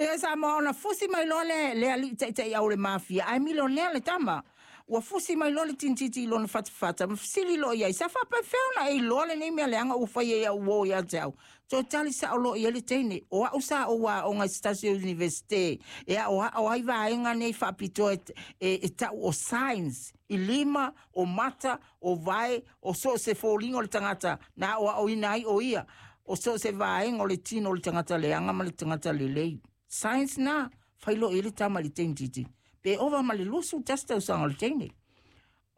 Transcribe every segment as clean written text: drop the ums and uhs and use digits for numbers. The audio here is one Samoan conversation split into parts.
E Samoa ona fusi mai loa le alii taitaiau o le mafia, ae milionea le tama. Ua fusi mai loa le tinititi i lona fatafata ma fesili loa i ai, sa faapefea ona e iloa lenei mea leaga ua faia i au uō ia te au? Toe tali sao loa i ai le teine, o au sa ou aoga i se tasi o Iunivesite e aoao ai vaega nei faapitoa e tau o science, i lima, o mata, o vae, o so o se foliga o le tagata na aoaoina ai o ia, o so o se vaega o le tino o le tagata leaga ma le tagata lelei. Science na, fai loa i ai le tama i le teine titi. Pe ova ma le 21 tausaga o le teine.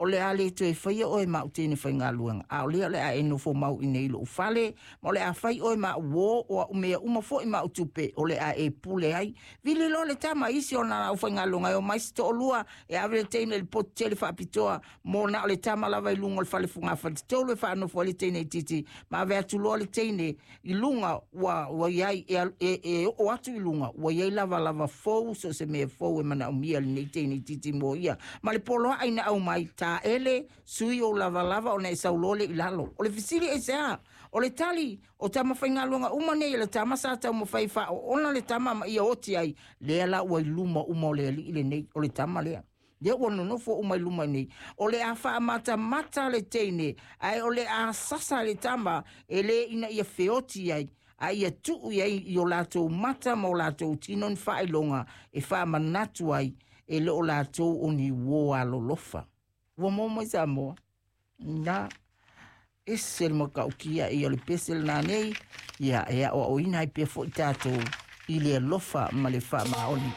O le a le toe faia oe ma au teine faigaluega, a o lea o le a e nofo mau i nei i lou fale, ma o le a fai oe ma au uō, o au mea uma foi ma au tupe, o le a e pule ai. Vili loa le tama i isi o ana aufaigaluega e omai se toalua e ave le teine i le potu tele faapitoa mo na o le tama lava i luga o le fale fogafale-tolu e faanofo ai le teine itiiti, ma ave atu loa le teine i luga ua i ai e oo atu i luga ua i ai lavalava fou, so o se mea fou e manaomia lenei teine itiiti mo ia. Ma le poloai na aumai, taele sui ou lavalava ona e sau loa lea i lalo. O le fesili aisea? O le tali, o tama faigaluega uma nei a le tama sa taumafai faaoona le tama ma ia oti ai, lea la ua i luma uma o le alii lenei, o le tama lea. Lea ua nonofo uma i luma nei. O le a faamatamata le teine, ae o le a sasa le tama, e le ina ia feoti ai, a ia tuu i ai i o latou mata ma o latou tino ni faailoga e faamanatu ai e le o latou o ni uō alolofa. Ua maua mai Samoa? Na, ese le matautia ia o le pese lena nei, ia e aoaoina ai pea foi tatou i le alofa ma le faamaoni.